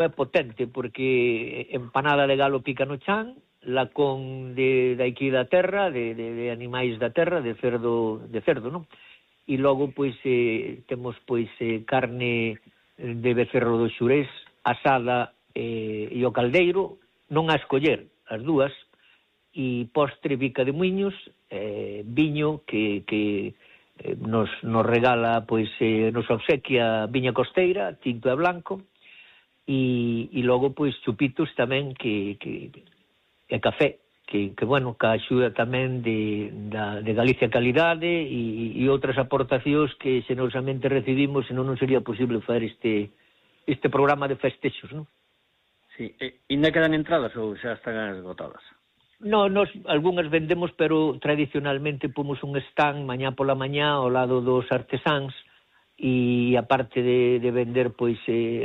é potente, porque empanada de galo pica no chan, lacón de aquí da terra, de animais da terra, de cerdo, non? E logo, pois, temos, pois, carne de becerro do Xurés, asada e o caldeiro, non a escoller, as dúas, e postre bica de muiños, viño que nos regala, pois, nos obsequia viña costeira, tinto e blanco, e logo, pois, chupitos tamén e café, que bueno, que axuda tamén de Galicia Calidade e outras aportacións que xenerosamente recibimos, senón non sería posible fazer este programa de festexos, non? Sí, ainda quedan entradas ou xa están esgotadas? No, nos algunhas vendemos, pero tradicionalmente pomos un stand mañá pola mañá ao lado dos artesáns, e aparte de vender pois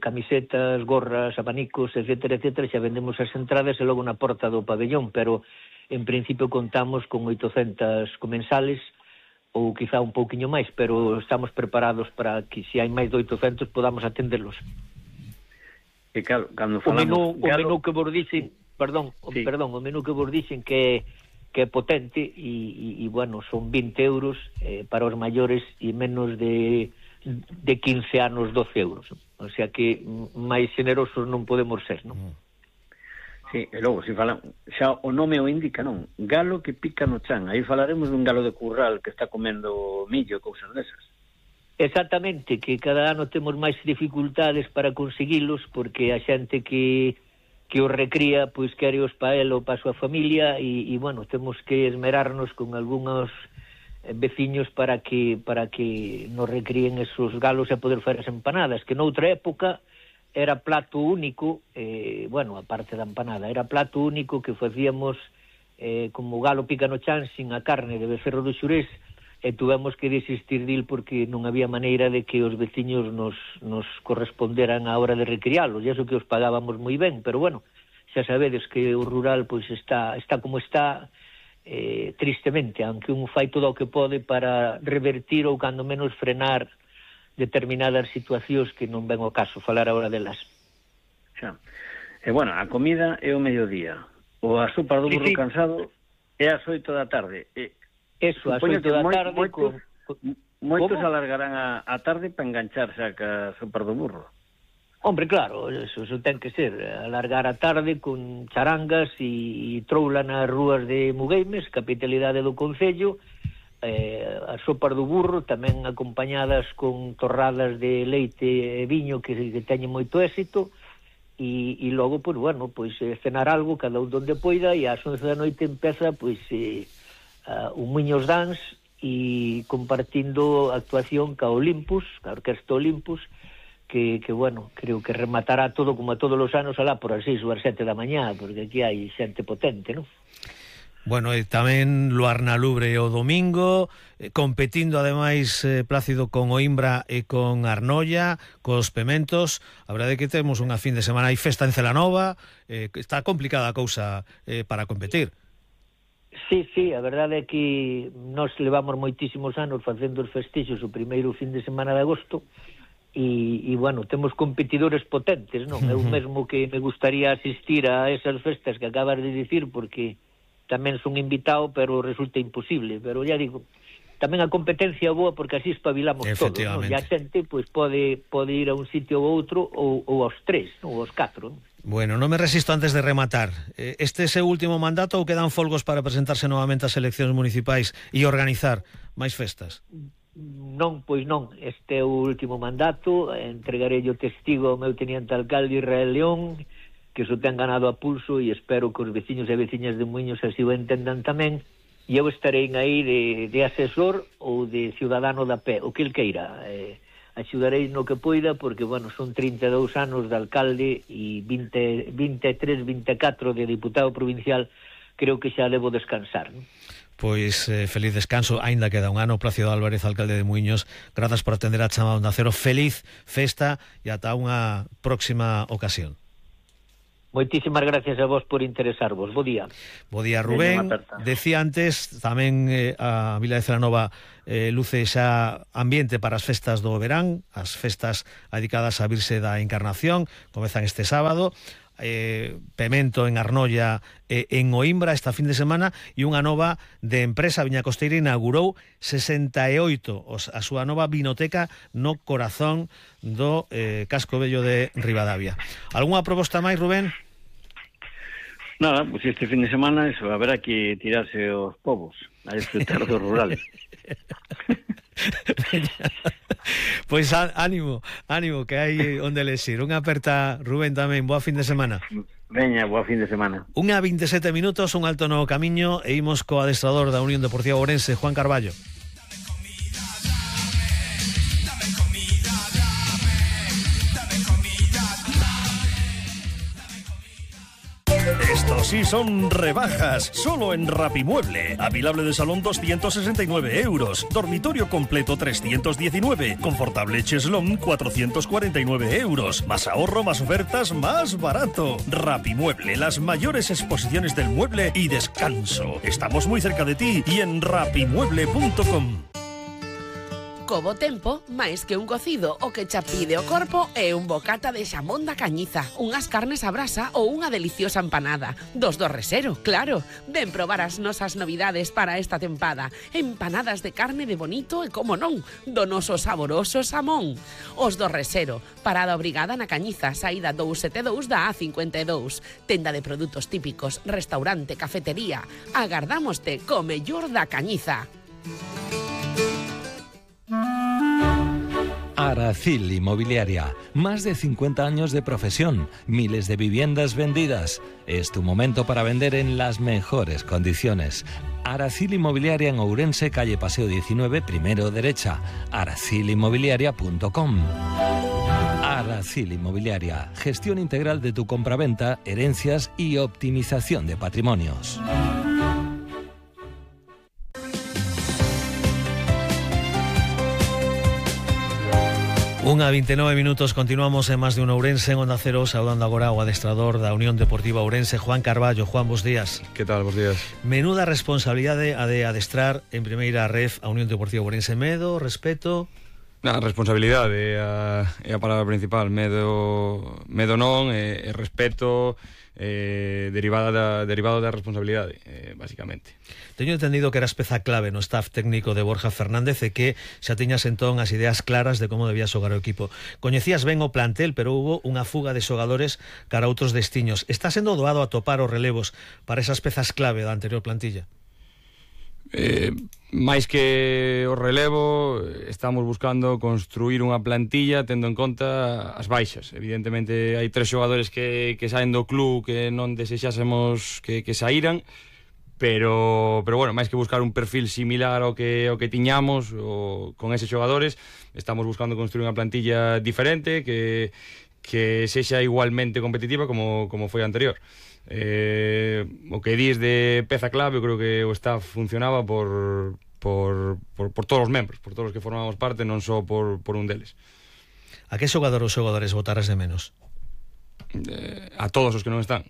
camisetas, gorras, abanicos, etcétera, xa vendemos as entradas e logo na porta do pabellón, pero en principio contamos con 800 comensales ou quizá un pouquiño máis, pero estamos preparados para que se hai máis de 800 podamos atenderlos. E claro, cando falamos... O menú que vos dixen, o menú que vos dixen que é potente e bueno, son 20 euros para os maiores e menos de 15 anos 12 euros. O sea que máis generosos non podemos ser, non? Sí, e logo, se falan, xa o nome o indica, non? Galo que pica no chan. Aí falaremos dun galo de curral que está comendo millo e cousas desas. Exactamente, que cada ano temos máis dificultades para conseguilos, porque a xente que os recría, pois quere os pa el ou pa súa familia, e bueno, temos que esmerarnos con algúns veciños para que nos recríen esos galos e poder fazer as empanadas, que noutra época era plato único, bueno, aparte da empanada, era plato único que facíamos como galo pica no chan sin a carne de becerro do Xurés, e tuvemos que desistir dil porque non había maneira de que os veciños nos corresponderan a hora de recriálos, e iso que os pagábamos moi ben, pero bueno, xa sabedes que o rural pois está como está, tristemente, aunque un fai todo o que pode para revertir ou cando menos frenar determinadas situacións que non ven o caso falar agora delas. Xa. E bueno, a comida é o mediodía, o a sopa do burro cansado é ás 8 da tarde. Eso, ás 8 da tarde moitos alargarán a tarde para engancharse a sopa do burro. Hombre, claro, eso ten que ser, alargar a tarde con charangas e troula nas rúas de Mugueimes, capitalidade do concello, as sopas do burro tamén acompañadas con torradas de leite e viño que teñen moito éxito, e logo, pois, bueno, pois cenar algo cada un donde poida, e ás 11 da noite empeza, pois, un Muiños Dance, e compartindo actuación ca Olympus, ca Orquesta Olympus, que bueno, creo que rematará todo como a todos os anos alá por as 6 ou as 7 da mañá, porque aquí hai xente potente, non? Bueno, e tamén Luarna Lubre o domingo, competindo ademais Plácido con Oimbra e con Arnoia, cos Pementos. A verdade é que temos unha fin de semana, hai festa en Celanova, está complicada a cousa para competir. Sí, a verdade é que nós levamos moitísimos anos facendo os festexos o primeiro fin de semana de agosto, e bueno, temos competidores potentes, non? Eu mesmo que me gustaría asistir a esas festas que acabas de dicir, porque tamén son invitado, pero resulta imposible, pero ya digo, tamén a competencia boa porque así espabilamos todos, non? E a xente pois pode ir a un sitio ou outro, ou aos 3, ou aos 4, non? Bueno, non me resisto antes de rematar. Este é o seu último mandato ou quedan folgos para presentarse novamente ás eleccións municipais e organizar máis festas? Non, pois non, este é o último mandato, entregarei o testigo ao meu teniente alcalde Israel León, que iso ten ganado a pulso, e espero que os veciños e veciñas de Muiños así o entendan tamén, e eu estarei aí de asesor ou de ciudadano da pé, o que el queira. Axudarei no que poida, porque, bueno, son 32 anos de alcalde e 23, 24 de diputado provincial, creo que xa debo descansar, non? Pois feliz descanso, aínda queda un ano. Plácido Álvarez, alcalde de Muiños, grazas por atender a chamada Onda Cero, feliz festa e ata unha próxima ocasión. Moitísimas gracias a vos por interesarvos. Bo día. Bo día, Rubén. Decía antes, tamén a Vila de Celanova luce xa ambiente para as festas do verán, as festas dedicadas á Virxe da Encarnación, comezan este sábado. Pemento en Arnoia en Oimbra esta fin de semana, e unha nova de empresa Viña Costeira inaugurou 68 a súa nova vinoteca no corazón do casco vello de Ribadavia. Algúnha proposta máis, Rubén? Nada, pues este fin de semana eso, habrá que tirarse os povos a disfrutar do rural. Pois ánimo, que hai onde lexir. Unha aperta, Rubén, tamén. Boa fin de semana. Veña, boa fin de semana. 1:27 minutos, un alto no camiño, e imos co adestrador da Unión Deportiva Ourense, Juan Carballo. Estos sí son rebajas, solo en Rapimueble. Avilable de salón 269 euros, dormitorio completo 319, confortable cheslón 449 euros. Más ahorro, más ofertas, más barato. Rapimueble, las mayores exposiciones del mueble y descanso. Estamos muy cerca de ti y en rapimueble.com. Co bo tempo, máis que un cocido, o que xa pide o corpo é un bocata de xamón da Cañiza, unhas carnes a brasa ou unha deliciosa empanada. Dos do Resero, claro. Ven probar as nosas novidades para esta tempada. Empanadas de carne de bonito e, como non, do noso saboroso xamón. Os do Resero, parada obrigada na Cañiza, saída 272 da A52. Tenda de produtos típicos, restaurante, cafetería. Agardámoste co mellor da Cañiza. Aracil Inmobiliaria, más de 50 años de profesión, miles de viviendas vendidas. Es tu momento para vender en las mejores condiciones. Aracil Inmobiliaria en Ourense, calle Paseo 19, primero derecha. aracilinmobiliaria.com. Aracil Inmobiliaria, gestión integral de tu compraventa, herencias y optimización de patrimonios. 1:29 minutos, continuamos en Más de un Ourense en Onda Cero, saudando agora o adestrador da Unión Deportiva Ourense, Juan Carballo. Juan, bos días. Que tal, bos días. Menuda responsabilidade a de adestrar en primeira ref a Unión Deportiva Ourense. Medo, respeto? Na responsabilidade é a palabra principal. Medo non, e respeto derivado da responsabilidade, basicamente. Teño entendido que eras peza clave no staff técnico de Borja Fernández e que xa tiñas entón as ideas claras de como debía xogar o equipo. Coñecías ben o plantel, pero hubo unha fuga de xogadores cara a outros destiños. Está sendo doado atopar os relevos para esas pezas clave da anterior plantilla? Máis que o relevo, estamos buscando construir unha plantilla tendo en conta as baixas. Evidentemente hai 3 xogadores que saen do club que non desexásemos que saíran, pero bueno, máis que buscar un perfil similar ao que tiñamos con eses xogadores, estamos buscando construir unha plantilla diferente que sexa igualmente competitiva como foi a anterior. O que dis de peza clave, eu creo que o staff funcionaba por todos os membros, por todos os que formamos parte, non só por un deles. A que xogador ou xogadores botaras de menos? A todos os que non están,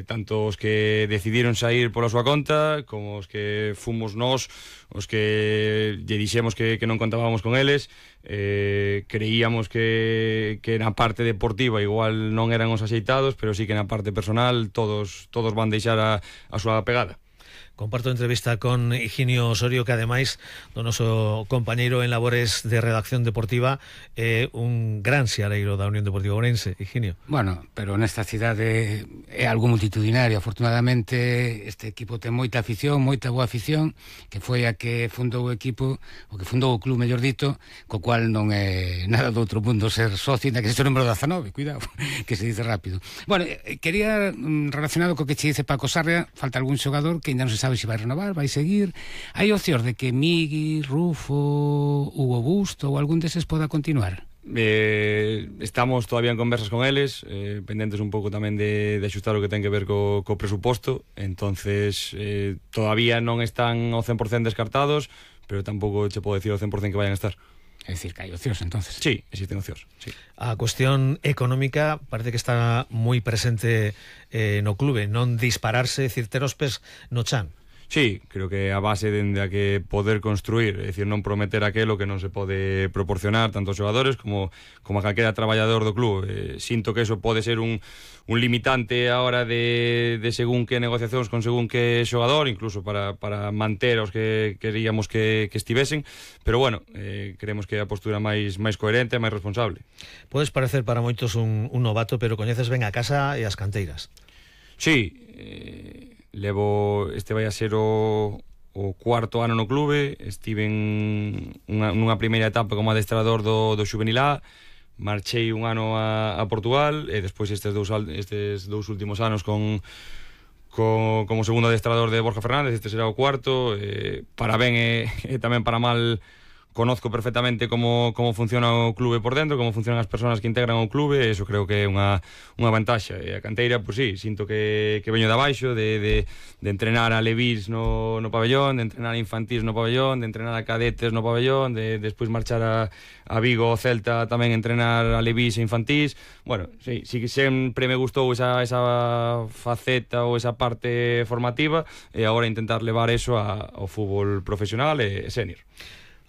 tanto os que decidiron sair pola súa conta como os que fomos nós os que lle dixemos que non contábamos con eles. Creíamos que na parte deportiva igual non eran os axeitados, pero sí que na parte personal todos van deixar a súa pegada. Comparto entrevista con Higinio Osorio, que ademais do noso compañeiro en labores de redacción deportiva é un gran seareiro da Unión Deportiva Ourense. Higinio. Bueno, pero nesta cidade é algo multitudinario. Afortunadamente este equipo ten moita afición, moita boa afición, que foi a que fundou o equipo, o que fundou o club, mellor dito, co cual non é nada do outro mundo ser socio, na que se o número 19, cuidado, que se dice rápido. Bueno, quería, relacionado co que che dice Paco Sarria, falta algún xogador que ainda non se sabe se vai renovar, vai seguir. Hai opcións de que Migui, Rufo, Hugo Busto ou algún deses poda continuar? Estamos todavía en conversas con eles, pendentes un pouco tamén de axustar o que ten que ver co presuposto. Entonces todavía non están ao 100% descartados, pero tampouco che podo decir ao 100% que vayan a estar. É dicir, que hai ocios, entonces. Sí, existen ocios, sí. A cuestión económica parece que está moi presente no clube, non dispararse, decir, ter os pés no chan. Sí, creo que a base dende a que poder construir, é dicir, non prometer aquelo que non se pode proporcionar tanto aos xogadores como a calquera traballador do club. Sinto que eso pode ser un limitante a hora de según que negociacións con según que xogador, incluso para manter os que queríamos que estivesen, pero bueno, creemos que é a postura máis coherente e máis responsable. Podes parecer para moitos un novato, pero coñeces ben a casa e as canteiras. Sí, este vai a ser o cuarto ano no clube. Estive nunha primeira etapa como adestrador do Xuvenil A, marchei un ano a Portugal e despois estes dous últimos anos como segundo adestrador de Borja Fernández. Este será o cuarto. Para ben e tamén para mal, conozco perfectamente como funciona o clube por dentro, como funcionan as persoas que integran o clube, e eso creo que é unha vantaxa. E a canteira, pois sí, sinto que veño de abaixo, de entrenar a Levís no pabellón, de entrenar a infantís no pabellón, de entrenar a cadetes no pabellón, de despois marchar a Vigo o Celta tamén entrenar a Levís e infantís. Bueno, sí que sempre me gustou esa faceta ou esa parte formativa, e agora intentar levar eso ao fútbol profesional e senior.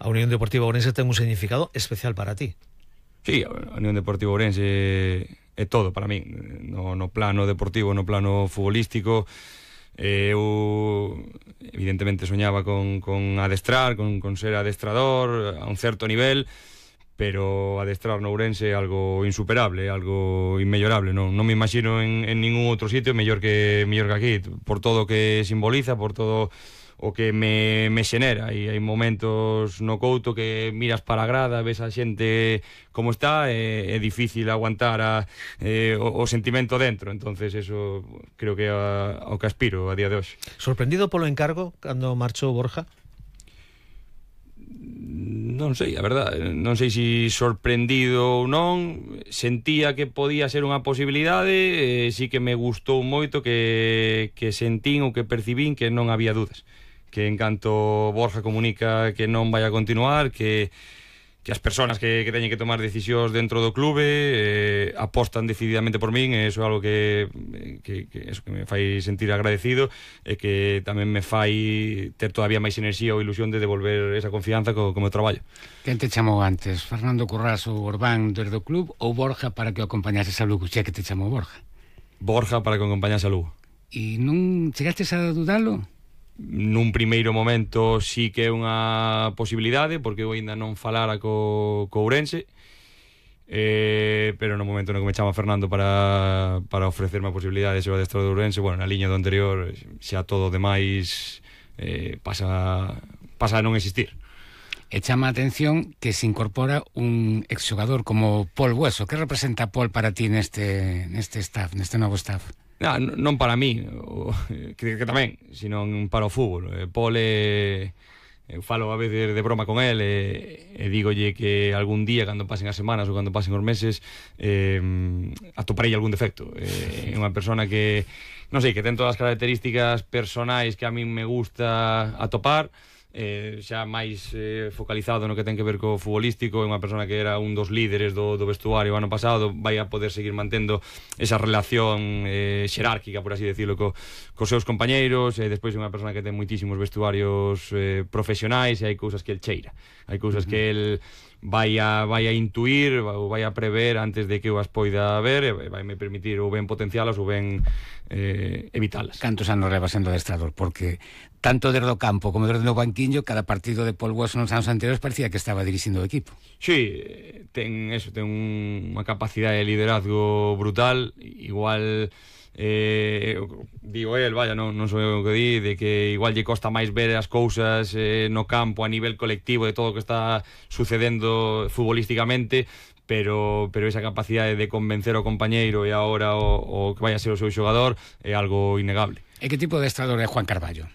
A Unión Deportiva Ourense ten un significado especial para ti. Sí, a Unión Deportiva Ourense é todo para min, no plano deportivo, no plano futbolístico. Eu evidentemente soñaba con adestrar, con ser adestrador a un certo nivel, pero adestrar no Ourense é algo insuperable, algo inmellorable. Non me imagino en ningún outro sitio mellor que aquí, por todo o que simboliza, por todo o que me xenera. E hai momentos no Couto que miras para a grada, ves a xente como está, é difícil aguantar o sentimento dentro. Entonces eso creo que é ao que aspiro a día de hoxe. Sorprendido polo encargo cando marchou Borja? Non sei, a verdad, non sei se sorprendido ou non. Sentía que podía ser unha posibilidade, sí que me gustou moito que sentín ou que percibín que non había dudas, que en canto Borja comunica que non vai a continuar, que as persoas que teñen que tomar decisións dentro do clube apostan decididamente por min, e iso é algo que me fai sentir agradecido, e que tamén me fai ter todavía máis enerxía ou ilusión de devolver esa confianza co meu traballo. Quen te chamou antes? Fernando Currás ou Orbán desde o club, ou Borja para que o acompañases a Lugo? Xa que te chamou Borja. Borja para que o acompañase a Lugo. E non chegastes a dudalo? Nun primeiro momento sí que é unha posibilidade, porque eu ainda non falara co Ourense, pero no momento no que me chama Fernando para ofrecerme a posibilidade de ser o adestrador do Ourense, bueno, na liña do anterior xa todo o demais pasa a non existir. E chama a atención que se incorpora un exxogador como Pol Bueso. Que representa Pol para ti neste staff, neste novo staff? Non para mí, que tamén, sino para o fútbol. Pol eu falo a veces de broma con el e dígolle que algún día, cando pasen as semanas ou cando pasen os meses, atoparei algún defecto. É unha persona que, non sei, que ten todas as características personais que a min me gusta atopar, xa máis focalizado no que ten que ver co futbolístico. É unha persona que era un dos líderes do vestuario ano pasado, vai a poder seguir mantendo esa relación xerárquica, por así decirlo, cos seus compañeiros. Despois é unha persona que ten moitísimos vestuarios profesionais, e hai cousas que el cheira, hai cousas que el vai a intuir ou vai a prever antes de que eu as poida ver, e vai me permitir ou ben potencialas ou ben evitalas. Cantos anos leva sendo adestrador? Porque tanto desde o campo como desde o banquiño, cada partido de Pol Bueso nos anos anteriores parecía que estaba dirixindo o equipo. Sí, ten unha capacidade de liderazgo brutal. Igual digo el, vaya, non sou eu que di, de que igual lle costa máis ver as cousas no campo a nivel colectivo de todo o que está sucedendo futbolísticamente, pero esa capacidade de convencer ao compañeiro e agora o que vai a ser o seu xogador é algo innegable. E que tipo de adestrador é Juan Carballo?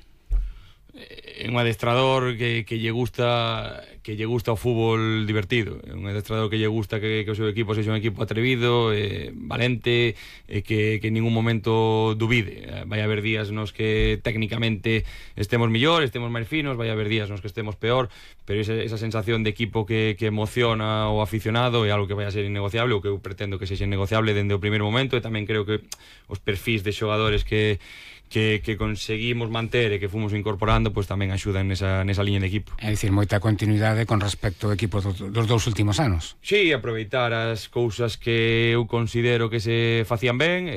É un adestrador que lle gusta que lle gusta o fútbol divertido, un adestrador que lle gusta que o seu equipo sexa un equipo atrevido, valente, que en ningún momento dubide. Vai haber días nos que técnicamente estemos mellor, estemos máis finos, vai haber días nos que estemos peor, pero esa sensación de equipo que emociona o aficionado é algo que vai a ser innegociable, o que eu pretendo que sexa innegociable dende o primeiro momento, e tamén creo que os perfis de xogadores que conseguimos manter e que fomos incorporando, pois tamén axudan nesa liña de equipo. É dicir, moita continuidade con respecto ao equipo dos 2 últimos anos. Sí, aproveitar as cousas que eu considero que se facían ben,